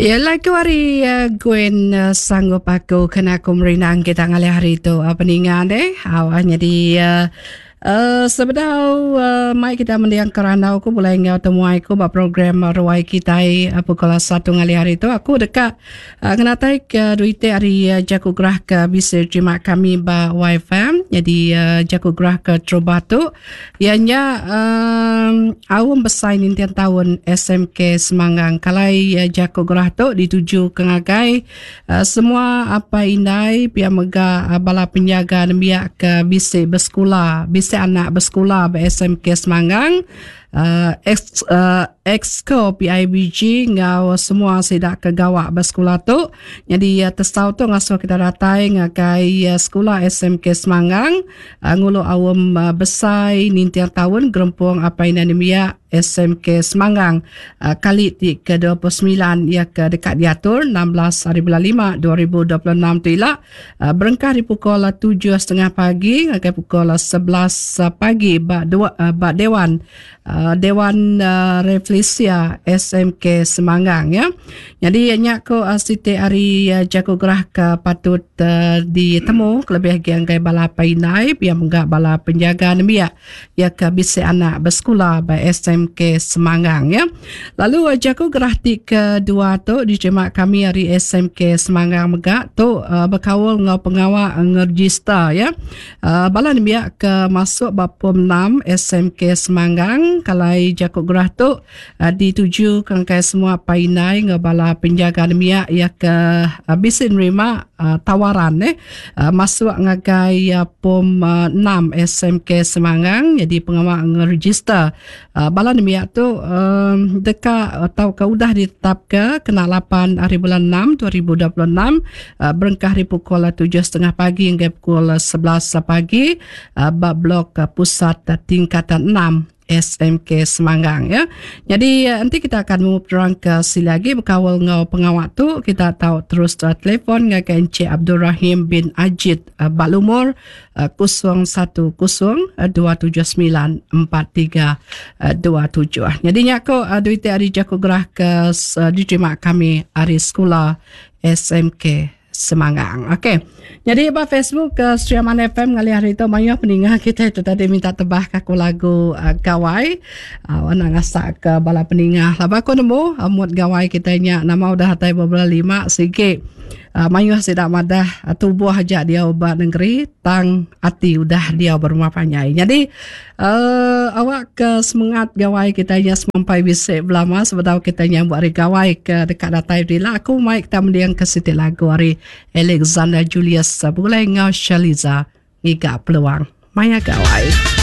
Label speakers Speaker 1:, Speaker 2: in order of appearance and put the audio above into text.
Speaker 1: Ya lagu ari uh, Gwen uh, sanggup aku kena aku merindang kita ngalih hari tu uh, peninga deh. Awak jadi uh, uh, sebedau uh, mai kita mendiang kerandau aku boleh enggau temuai aku ba program ruai kita uh, pukul 1 ngalih hari tu aku deka uh, ngenatai ke duit ari uh, jaku gerah ke bisi terima kami ba YFM. Jadi uh, jaku gerah ke terubah tu Iya nya um, aum besai ninting taun SMK Semanggang. Kalai uh, jaku gerah tu dituju ke ngagai uh, semua apai indai pia mega uh, bala penjaga nembiak ke bisi besekula, bisi anak besekula ba SMK Semanggang. Uh, ex, uh, Exco PIBG enggau semua sida ke gawa ba sekula tu. Nyadi uh, tesau tu ngasuh kita datai ngagai uh, sekula SMK Semanggang. Ngulu aum besai ninting taun Gerempung Apai Indai Nembiak SMK Semanggang kali ti ke 29 iya ke deka diatur 16 hari bulan 5 2026 tu ila berengkah ari pukul 7.30 pagi ngagai pukul 11 pagi ba dua, ba Dewan Dewan Reflesia SMK Semanggang ya. Nyadi nya ko siti ari jaku gerah ke patut ditemu kelebih agi anggai bala apai indai pia mega bala penjaga nembiak iya ke bisi anak besekula ba SMK Semanggang ya. Lalu jaku gerah ti kedua tu diterima kami ari SMK Semanggang mega tu bekaul enggau pengawa ngerejista ya. Bala nembiak ke masuk ba pom 6 SMK Semanggang kalai jaku gerah tu dituju ke ngagai semua apai indai enggau bala penjaga nembiak iya ke bisi nerima tawaran eh masuk ngagai pom 6 SMK Semanggang nyadi pengawa ngerejister Bala nembiak tu deka tauka udah ditetapka kena lapan hari bulan enam 2026 berengkah ari pukul 7.30 pagi hingga pukul 11 pagi ba blok pusat tingkatan 6 SMK Semanggang ya. Jadi enti kita akan mau penerang ke sili agi bekaul enggau pengawa tu kita tau terus telefon ngagai Encik Abdul Rahim bin Ajit ba lumur 010 279 4327. Jadi nya ko duit ari jaku gerah ke diterima kami ari sekula SMK Semanggang. Okey. Jadi ba Facebook ke Sri Aman FM ngalih hari tu mayuh peninga kita itu tadi minta tebah ke aku lagu uh, gawai. Uh, nak ngasak ke bala peninga. Laba aku nemu uh, mood gawai kita nya nama udah atai beberapa lima sigi. Mayuh sida madah tubuh aja diau ba nengeri tang ati udah diau ba rumah panjai. Nyadi uhh awak ke semengat gawai kitai nya semampai bisi belama sebedau kitai nyambut hari gawai ke deka datai bila aku mai kita mending ke siti lagu ari Alexander Julius begulai enggau Shaliza ngiga peluang maya gawai.